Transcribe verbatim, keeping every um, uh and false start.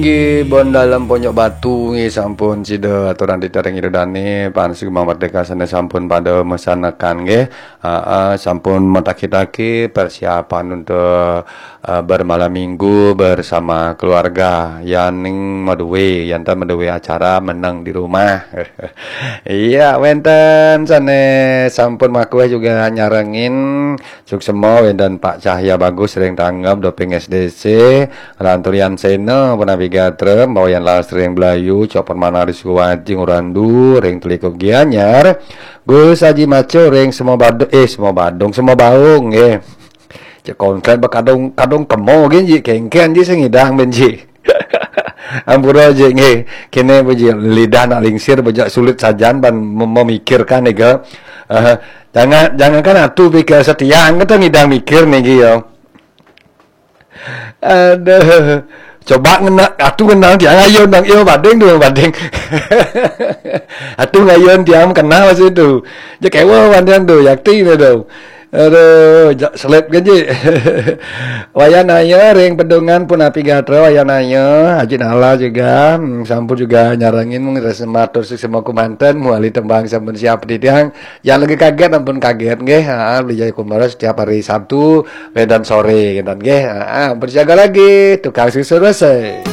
Inggih, bon dalem Ponjok Batu nggih sampun sida aturang titiang ring Ida Dane, pan sugeng Merdeka sane sampun pada mesanekan nggih. Heeh, sampun mataki-taki persiapan untuk, eh, bermalam minggu bersama keluarga. Yan ning madue, yan ta madue acara meneng di rumah. Iya, wenten sane sampun makueh juga nyarengin. Suksema wenten Pak Cahya Bagus ring tanggap doping S D C, Lanturian Sena, Punapi Gatra, Bawayan Las ring Belayu, Cok Permana ring Sukowaji, Ngurandu ring Telikup Gianyar, Gus Haji Maco ring Semua Badung, eh, Semua Badung, Semua Baung, nggih. Cek kongklen ba kadung, kadung kemo gin ji, kengken ji sing ngidang ben ji. Ampura ji nggih. Kene ba ji lidah nak lingsir ba jak sulit sajan ban mem- memikirkan nika. Eh, jangan, jangankan atu pikir setiang kita ngidang mikir niki ya. Aduh. Coba ngena atu ngenang tiang ayun dang iyo bading tu bading. Atu ngayun tiang kenal situ. Je kewa pandang tu yakti ni tu. Aduh, jak selip kan ji. Wayan ayo ring pedungan Punapi Gatra, wayan ayo Haji Nala juga, hmm, sampun juga nyarengin mung rasa matur suksma kumanten muali tembang sampun siap di tiang. Yang lagi kaget ampun kaget nggih. Ha, beli jaya kumara setiap hari Sabtu, wedan sore gitu nggih. Ha, berjaga lagi tukang susu rasa.